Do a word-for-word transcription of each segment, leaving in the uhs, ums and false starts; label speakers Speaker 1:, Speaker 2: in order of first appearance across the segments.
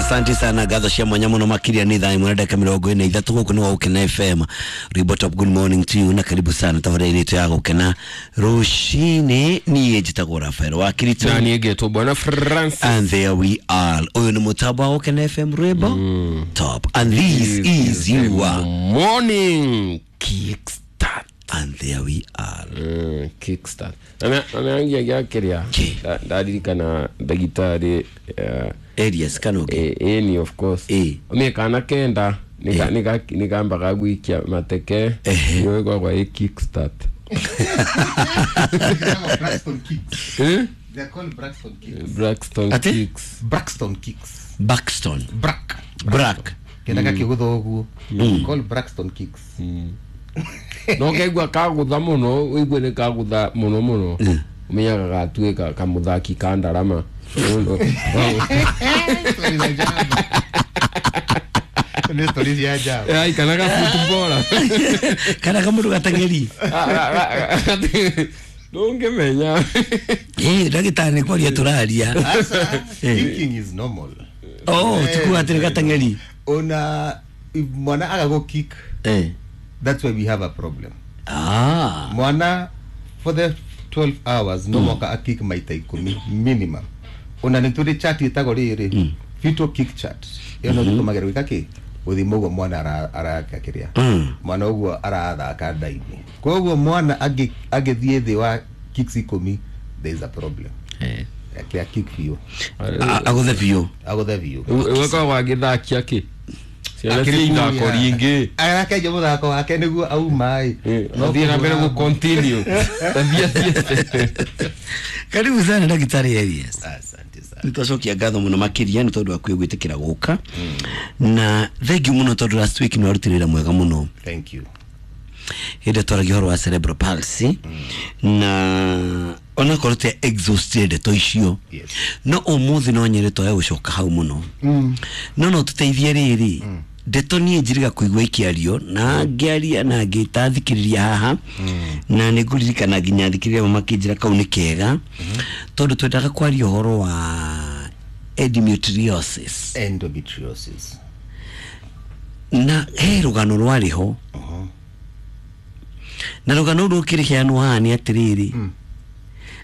Speaker 1: Asante sana ngatho cia mwanya muno makiria ni thaa imwe na ndagĩka mĩrongo ĩna ithatũ gũkũ nĩ wa Gũkena F M. Rwĩmbo Top, good morning to you na karibu sana tabarĩra itũ ya Gũkena rũcinĩ. Niĩ njĩtagwo Rafael wa Kirito
Speaker 2: na niĩ ngetwo Bwana Francis,
Speaker 1: and there we are. Ũyũ nĩ mũtambo wa Gũkena F M Rwĩmbo mm. Top, and this, this is your
Speaker 2: morning kickstart,
Speaker 1: and there we are.
Speaker 2: Mm, kickstart na na ngia kiria ndaririkana ndagitari
Speaker 1: areas kana
Speaker 2: eh eh of course
Speaker 1: eh
Speaker 2: me kana kenda nika nika nikambaga gwikia mateke niwe kwa kwa kickstart.
Speaker 3: Braxton kicks.
Speaker 2: Eh?
Speaker 3: They are called Braxton kicks.
Speaker 2: Braxton
Speaker 1: Ate?
Speaker 2: kicks.
Speaker 3: Braxton kicks.
Speaker 1: Braxton.
Speaker 3: Brack.
Speaker 1: Brack.
Speaker 3: Kenda kakigutha uguo. Called Braxton kicks.
Speaker 2: No keigua kagutha muno, uigue ni kagutha muno muno. Umenyaga gatuika kamuthaki ka ndarama.
Speaker 3: Ni story cia ajabu.
Speaker 2: Ai kana ga footballer.
Speaker 1: Kana ga mundu gatang'eri.
Speaker 2: Ndungimenya.
Speaker 1: Eh, ndagitari ni kwaria turaria.
Speaker 3: Kicking is normal.
Speaker 1: Oh, tukuga atiri gatang'eri.
Speaker 3: Ona if mwana agago kick.
Speaker 1: Eh.
Speaker 3: That's why we have a problem.
Speaker 1: Ah.
Speaker 3: Mwana for the twelve hours no mwaka mm. akick maita ikumi minimum. Ona ni turi chat itagwo riri. Fetal kick chart. Iyo no tutumagĩra gwĩka kĩ? Gũthima ũguo mwana araka kĩrĩa. Mwana ũguo arathaka nda-inĩ. Koguo mwana agĩthiĩ thĩ wa kicks ikũmi, there is a problem.
Speaker 1: Eh.
Speaker 3: Akĩa kick biũ.
Speaker 1: Agũthe biũ.
Speaker 3: Agũthe biũ.
Speaker 2: Weka wagĩthakia kĩ? Ciana cia ithako ringĩ.
Speaker 3: Arakenja mũthako wake nĩguo auma ĩ.
Speaker 2: No thiĩ na mbere gũ continue. Tathiĩ athiĩte.
Speaker 1: Karibu sana Daktari Elias.
Speaker 3: Asante sana.
Speaker 1: Nitwacokia ngatho muno makiria ni tondu waku gwitikira guka. Na thank you muno tondu last week ni warutire mwega muno.
Speaker 3: Thank you.
Speaker 1: Hĩndĩ twaragia ũhoro wa cerebral palsy na ona korwo te exhausted ndeto icio.
Speaker 3: Yes.
Speaker 1: No ũmũthĩ no nyende twae gũcoka hau mũno. No no tũteithie rĩrĩ ndeto niĩ njiriga kũigua ikĩario na ngĩaria na ngĩta thikĩrĩria haha na nĩ ngũririkana nginya thikĩrĩria makĩnjĩra kau nĩ kega tondũ twendaga kwaria ũhoro wa endometriosis.
Speaker 3: Endometriosis.
Speaker 1: Na he rũgano rwarĩ ho na rũgano rũu rũkĩrĩheanwo haha nĩ atĩrĩrĩ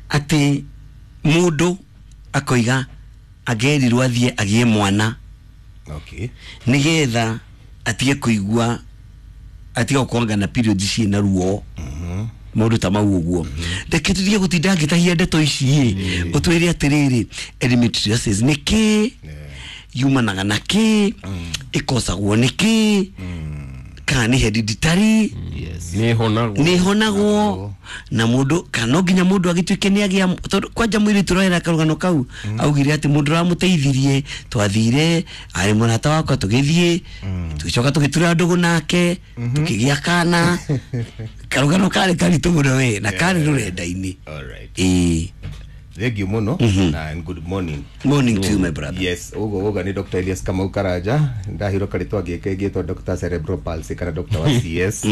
Speaker 1: atĩ mũndũ akoiga agerirwo athiĩ agĩe mwana.
Speaker 3: Okay.
Speaker 1: Nigetha atige kuigua atige gukorwo na period ciĩ na ruo. Maũndũ ta mau ũguo. Reke tũtige gũtinda ngĩtahia ndeto ici ĩ ũtwĩre atĩrĩrĩ endometriosis nĩ kĩ, yumanaga na kĩ, ĩkosagwo nĩ kĩ, kana nĩ hereditary,
Speaker 2: nĩ
Speaker 1: ĩhonagwo na mũndũ kana no nginya mũndũ agĩtuĩke nĩ agĩa tondũ kwanja mũirĩtu ũroera karũgano kau augire atĩ mũndũ ũramũteithirie twathire arĩ mũrata wakwa tũgĩthiĩ tũgĩcoka tũgĩtura ndũgũ nake tũkĩgĩa kana karũgano karĩ karitũ mũno we na karĩ rũrenda-inĩ.
Speaker 3: All right.
Speaker 1: Ĩĩ.
Speaker 3: Thank you muno na good morning.
Speaker 1: Morning to you my brother.
Speaker 3: Yes, ugo uga ni Doctor Elias Kamau Karanja ndahiro karitwa gike gitwa Doctor Cerebral Palsy kana Doctor wa C S.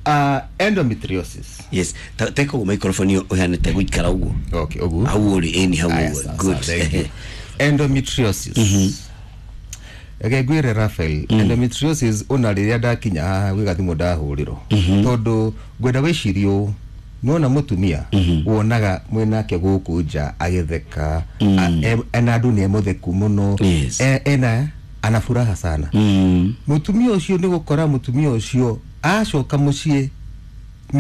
Speaker 3: Uh, endometriosis.
Speaker 1: Yes, take over microphone yo uhanete guikara uguo.
Speaker 3: Okay, uguo.
Speaker 1: Hau uri eni hau uguo. Good.
Speaker 3: Thank you. Endometriosis. Ege gwire Rafael, endometriosis ona riria ndakinya haha gwi gathimu ndahurirwo. Tondu ngwenda wicirio nona mutumia wonaga mwinake guku nja agitheka ena andu ni mutheku muno ena ana furaha sana. Mutumia ucio ni gukora mutumia ucio acoka mucii